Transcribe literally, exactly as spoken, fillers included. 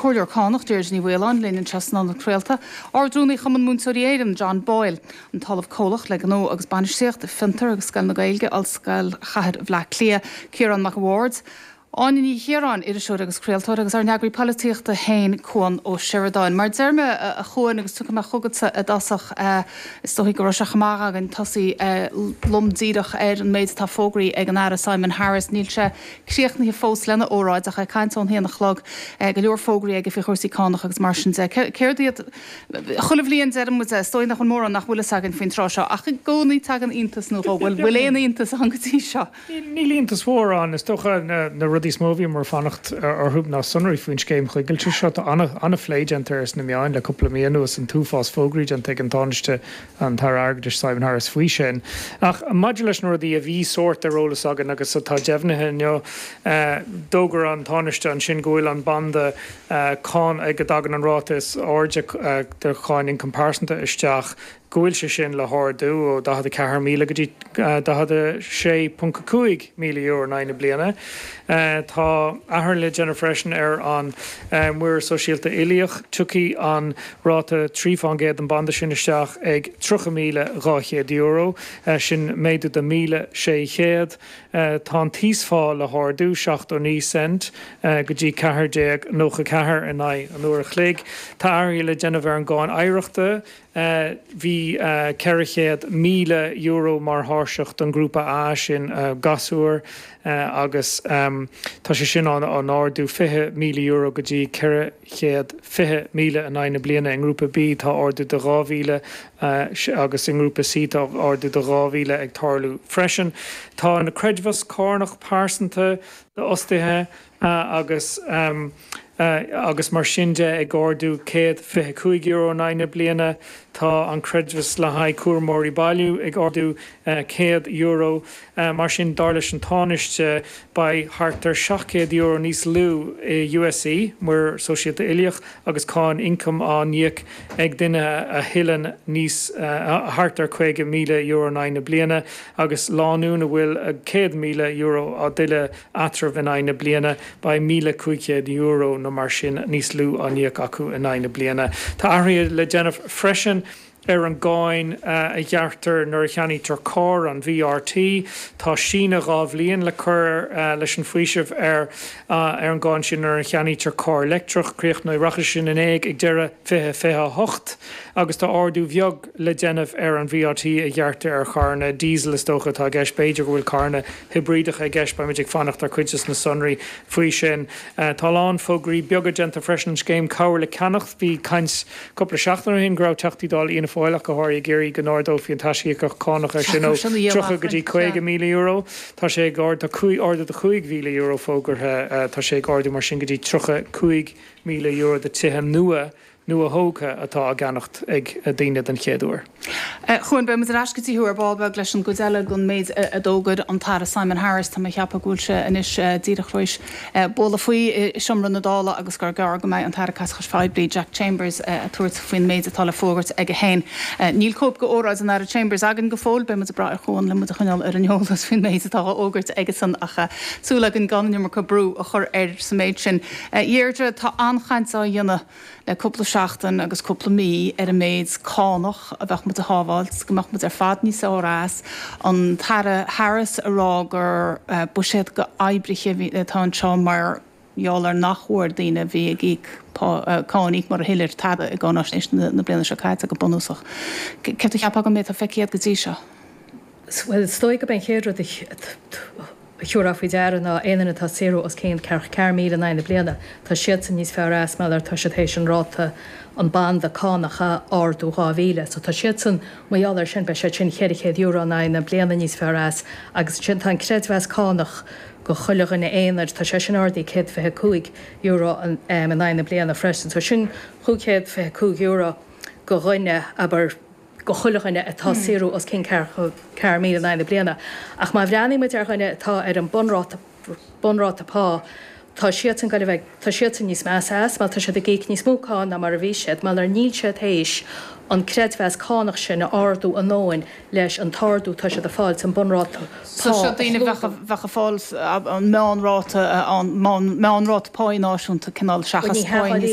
Comhairleoir Cánach Deirdre Ní Mhaoláin linn anseo san ionad craolta, Ard-Rúnaí Chumann Múinteoirí Éireann John Boyle, an tOllamh Comhlach le Gnó agus Bainistíocht, Fiontar agus Scoil na Gaeilge, Ollscoil Chathair Bhaile Átha Cliath, Ciarán Mac an Bhaird, Áine Ní Chiaráin, iriseoir agus craoltóir agus ár n-eagraí polaitíochta féin Cuan Ó Seireadáin. Mar deir mé a Chuain agus tiocfaidh mé chugatsa i dtosach is dóigh go raibh sé chomh maith againn tosaí lom díreach ar an méid atá fógraithe ag an Aire Simon Harris. Níl sé críochnaithe fós lena óráid ach é ag caint ón haon a chlog go leor fógraí aige faoi chúrsaí cánach agus mar sin de. Céard iad chuile bhliain deireann muid is dóigh nach bhfuil mórán nach bhfuil fhios againn faoin tráth seo ach i gcónaí tagann iontas nó dhó bhfuil bhfuil aon iontas ann go dtí seo. Níl iontas mhór ann is dócha na rudaí is mó a bhíomar ag fanacht orthu ná sonraí faoin scéim choigilte seo tá an-phlé déanta ar sna meáin le cúpla mí anuas an t-uafás fógraí déanta ag an Tánaiste an tAire Airgeadais Simon Harris faoi sin. Ach maidir leis na rudaí a bhí sórt ar eolas againn agus atá deimhnithe inniu d'fhógair an Tánaiste ansin go bhfuil an banda cánach ag a dtagann an ráta is airde de cháin ioncam pearsanta isteach go bhfuil sé sin le hardú ó daichead a ceathair míle go dtí daichead a sé ponc a cúig míle euro in aghaidh na bliana. Tá athrú le déanamh freisin ar an muirear sóisialta uilíoch. Tiocfaidh an ráta trí fán gcéad an banda sin isteach ag tríocha míle dhá chéad euro, sin méadú de míle sé chéad. Tá an t-íosphá le hardú seachtó naoi cent go dtí ceathair déag nócha ceathair in aghaidh an uair a chloig. Tá athruithe le déanamh ar an gcáin oidhreachta. Bhí ceithre chéad míle euro mar thairseach don ghrúpa A sin gasúir agus tá sé sin á n-ardú fiche míle euro go dtí ceithre chéad fiche míle in aghaidh na bliana. I ngrúpa B tá ardú de dhá mhíle agus i ngrúpa C tá ardú de dhá mhíle ag tarlú freisin. Tá na creidmheas cánach pearsanta d'fhostaithe agus agus mar sin de ag ardú céad fiche cúig euro in aghaidh na bliana. Tá an creidmheas le haghaidh cúramóirí baile ag ardú céad euro. Mar sin dar leis an Tánaiste beidh thart ar seacht gcéad euro níos lú i USC, muirear sóisialta uilíoch agus cáin ioncaim á n-íoc ag duine a thuilleann níos thart ar caoga míle euro in aghaidh na bliana agus lánúin a bhfuil céad míle euro á dtuilleadh eatarthu in aghaidh na bliana beidh míle cúig chéad euro nó mar sin níos lú á n-íoc acu in aghaidh na bliana. Tá athruithe le déanamh freisin ar an gcáin a ghearrtar nuair a cheannaítear carr an VRT. Tá síneadh dhá bhliain le cur leis an bhfaoiseamh ar ar an gcáin sin nuair a cheannaítear carr leictreach. Críochnóidh rachaidh sin in éag ag deireadh fiche fiche a hocht agus tá ardú bheag le déanamh ar an VRT a ghearrtar ar charranna diesel is dócha atá i gceist. B'fhéidir go bhfuil carranna hibrídeacha i gceist, beimid ag fanacht ar chuid de na sonraí faoi sin. Tá a lán fógraí beaga déanta freisin an scéim cabhair le ceannach. Bhí caint cúpla seachtain ó shin go raibh Teachtaí Dála Fhianna Fáil ach go háirithe ag iarraidh go n-ardófaí an t-aisíocaíocht cánach ar sin ó tríocha go dtí caoga míle euro. Tá sé ag ard tá cúig ardú de chúig mhíle euro fógartha tá sé ag ardú mar sin go dtí tríocha cúig míle euro do tithe nua nua-thógtha atá á gceannacht ag daoine den chéad uair. Chuain beimid ar ais go dtí thú ar ball beag leis an gcuid eile den méid a d'fhógair an tAire Simon Harris tá mé ag ceapadh go bhfuil sé anois díreach tar éis bualadh faoi i seomra na Dála agus gur gearr go mbeidh an tAire Caiteachais Phoiblí Jack Chambers ag tabhairt faoin méid atá le fógairt aige féin. Níl cóip d'óráid an Aire Chambers againn go fóill, beimid ag brath ar Chuan le muid a choinneáil ar an eolas faoin méid atá á fhógairt aigesan ach súil againn gan an iomarca brú a chur air sa méid sin. Deirdre tá an-chaint á dhéanamh le cúpla seachtain agus cúpla mí ar an méid cánach a bheadh muid a shábháilt, go mbeadh muid ar fad níos fearr as, an tAire Harris a rá gur buiséad d'oibrithe atá anseo mar gheall ar nach bhfuair daoine a bhí ag íoc cáin íoc mar a thuillir tada i gcáinaisnéis na bliana seo caite go bunúsach. Céard a cheapfá den méid atá feicthe go dtí seo? Well is dóigh gurb é an chéad rud a thabharfá faoi deara ná aon duine atá ag saothrú os cionn ceathracha ceathair míle in aghaidh na bliana, tá siadsan níos fearr as mar tá siad théis an ráta an banda cánach a ardú dhá mhíle. So tá siadsan mar gheall air sin beidh siad sin ceithre chéad euro in aghaidh na bliana níos fearr as agus ansin tá an creidmheas cánach go chuile dhuine aonair, tá sé sin ardaithe céad fiche cúig euro in aghaidh na bliana freisin. So sin chúig chéad fiche cúig euro go dhuine abair go chuile dhuine atá ag saothrú os cionn ceathracha ceathair míle in aghaidh na bliana. Ach má bhreathnaíonn muid ar dhuine atá ar an bunráta bunráta pá, tá siadsan go bheith tá siadsan níos measa as, mar tá siad ag íoc níos mó cáin ná mar a bhí siad, mar níl siad théis an creidmheas cánach sin a ardú a ndóthain leis an t-ardú tá siad ag fáil san bunráta pá. So seo daoine a bheadh bheadh ag fáil an meánráta an meánráta pá náisiúnta cineál seachas pá níos